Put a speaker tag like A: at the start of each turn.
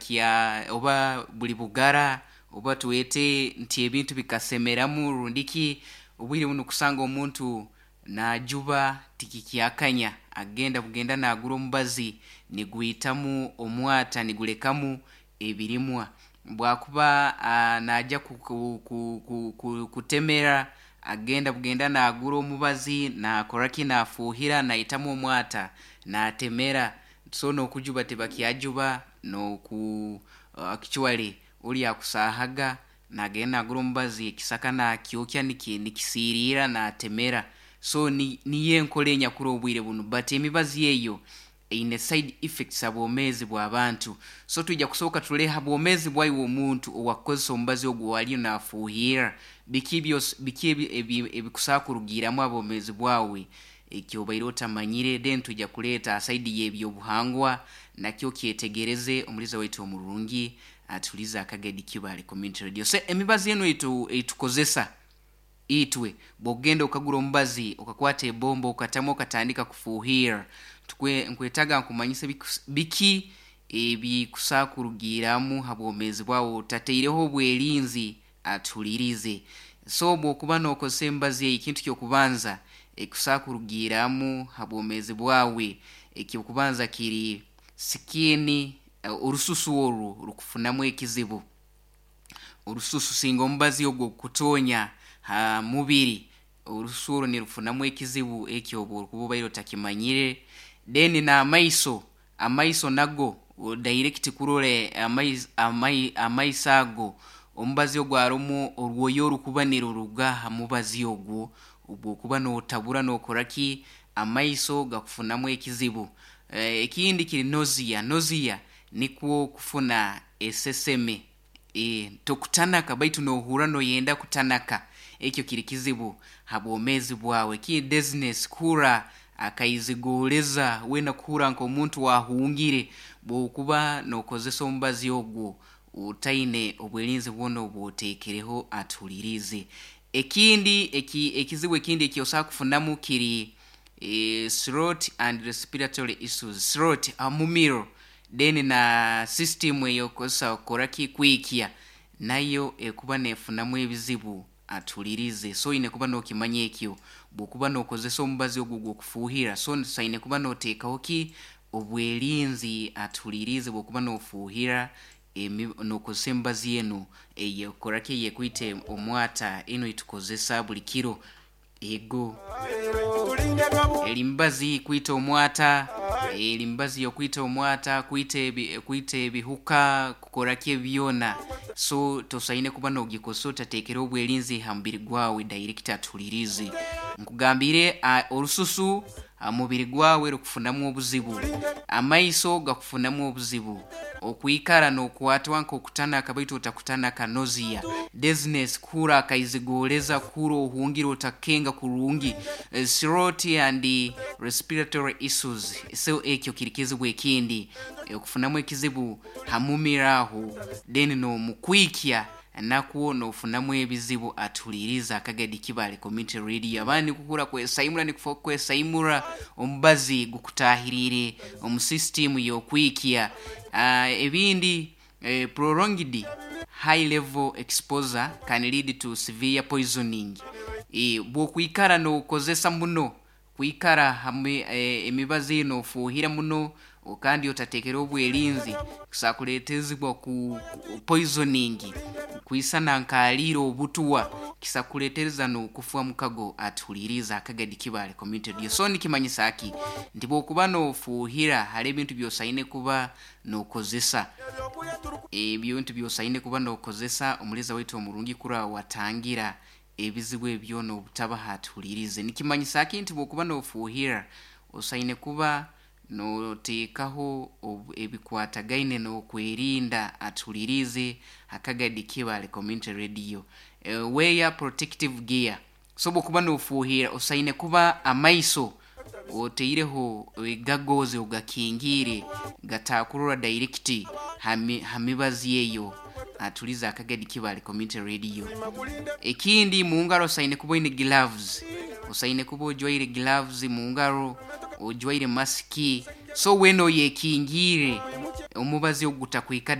A: Tibakya oba buli bugara, oba twete nti ebintu bikasemeramu rundiki. Obwire bunu kusanga omuntu najuba tikikyakanya, agenda bugenda nagura omubazi nigwitamu omwata, nigulekamu ebirimwa. Bwakuba naija kutemera, agenda bugenda nagura omubazi, nakoraki, nafuhira, naitamu omwata, natemera. So nokujuba tibakyajuba, noku actually oli akusahaga nagenda nagura omubazi, ekisaka nakyokya, nikisirira, natemera. So niyo enkora enyakuri obwire bunu, but emibazi eyo eine side effects ha bwomeezi bw'abantu. So twija kusooka turole ha bwomeezi bwaiwe omuntu owakukozesa omubazi ogu aliyo nafuuhirra, biki biki ebikusobola kurugiiramu ha bwomeezi bwawe eki obaire otamanyire. Then twija kuleeta ha side y'ebyobuhangwa, nakyo okyetegereze omuliza waitu omurungi atuhuliirize Akagedi Kibale Community Radio. So emibazi enu eitukozesa itwe, bw'okugenda okagura omubazi, okakwata ebomba, okatamu, okatandika kufuuhirra, nkwetaaga nkumanyise biki ebikusobola kurugiiramu ha bwomeezi bwawe otataireho obwerinzi. Atuhuliirize. So obwokuba nokozesa emibazi egi, ekintu ky'okubanza ekikusobola kurugiiramu ha bwomeezi bwawe, eky'okubanza kiri skin, orususu oru rukufunamu ekizibu. Orususu singa omubazi ogu gukutonya ha mubiri, orususu oru nirufunamu ekizibu eki obu orukuba obaire otakimanyire. Then n'amaiso, amaiso nago direct kurora amaiso ago, omubazi ogu harumu orwoya orukuba niruruga ha mubazi ogu, obu okuba notabura nokoraki, amaiso gakufunamu ekizibu. Ekindi kiri nausea, nausea nikwo kufuna eseseme, tokutanaka baitu nohurra noyenda kutanaka, ekyo kiri kizibu ha bwomeezi bwawe. Ekindi dizziness, kuhurra akaizigoleza, weena kuhurra nk'omuntu ahungire obu okuba nokozesa omubazi ogu otaine obwerinzi bwona obu oteekereho. Atuhuliirize. Ekindi ekizibu ekindi eki osobola kufunamu kiri throat and respiratory issues, throat, omumiro, then na system ey'okukozesa kukoraki, kwikya, nayo ekuba neefunamu ebizibu. Atuhuliirize. So oine kuba nookimanya ekyo obu okuba nookozesa omubazi ogu ogw'okufuuhirra, so osaine kuba nooteekaho ki, obwerinzi. Atuhuliirize, obu okuba noofuuhirra, nookozesa emibazi enu ey'ekukoraki, eyekwita omwata, enu eitukozesa buli kiro. Ego eri mibazi kwita omwata, eri mibazi y'okwita omwata, kwita kwita ebihuka, kukoraki ebi byona. So tosaine kuba noogikozesa otateekere obwerinzi ha mubiri gwawe. Direct atuhuliirize. Nkugambiire, orususu ha mubiri gwawe rukufunamu obuzibu, amaiso gakufunamu obuzibu, okwikara nokwatwa nk'okutanaka baitu otakutanaka, nausea, dizziness, kuhurra akaizigoleza, kuhurra ohungire otakukenga kurungi, throat and respiratory issues. So ekyo kiri kizibu ekindi, okufunamu ekizibu ha mumiro aho, then n'omukwikya nakwo nofunamu ebizibu. Atuhuliirize Akagadi Kibale Community Radio. Abandi nikuhurra kwesaimura, nikufa kwesaimura, omubazi gukutaahiriire omu system y'okwikya. Ebindi, prolonged high level exposure can lead to severe poisoning. Bw'okwikara nookozesa muno, kwikara ha emibazi enu ofuuhira muno kandi otateekereho obwerinzi, kusobora kuleetezibwa ku poisoning, kwisana nk'aliire obutwa, kisobora kukuleetereza n'okufa mukago. Atuhuliirize Akagadi Kibale Community Radio. So nikimanyisa ki? Nti bw'okuba noofuuhira, hariho ebintu by'osaine kuba nookozesa. Ebintu by'osaine kuba nookozesa, omuliiza waitu omurungi, kurora watangira ebizibu ebi byona obutabaho. Atuhuliirize. Nikimanyisa ki? Nti bw'okuba noofuuhirra, osaine kuba nooteekaho ebikwatagaine n'okwerinda. Atuhuliirize Akagadi Kibale Community Radio. Wear protective gear. So obwokuba noofuuhirra, osaine kuba amaiso otaireho goggles, ogakingiire gatakurora direct ha mibazi eyo. Atulize Akagadi Kibale Community Radio. Ekindi, mu ngaro osaine kuba oine gloves, osaine kuba ojwaire gloves mu ngaro, ojwaire masiki, so weena oyekingiire omubazi ogu gutakwika.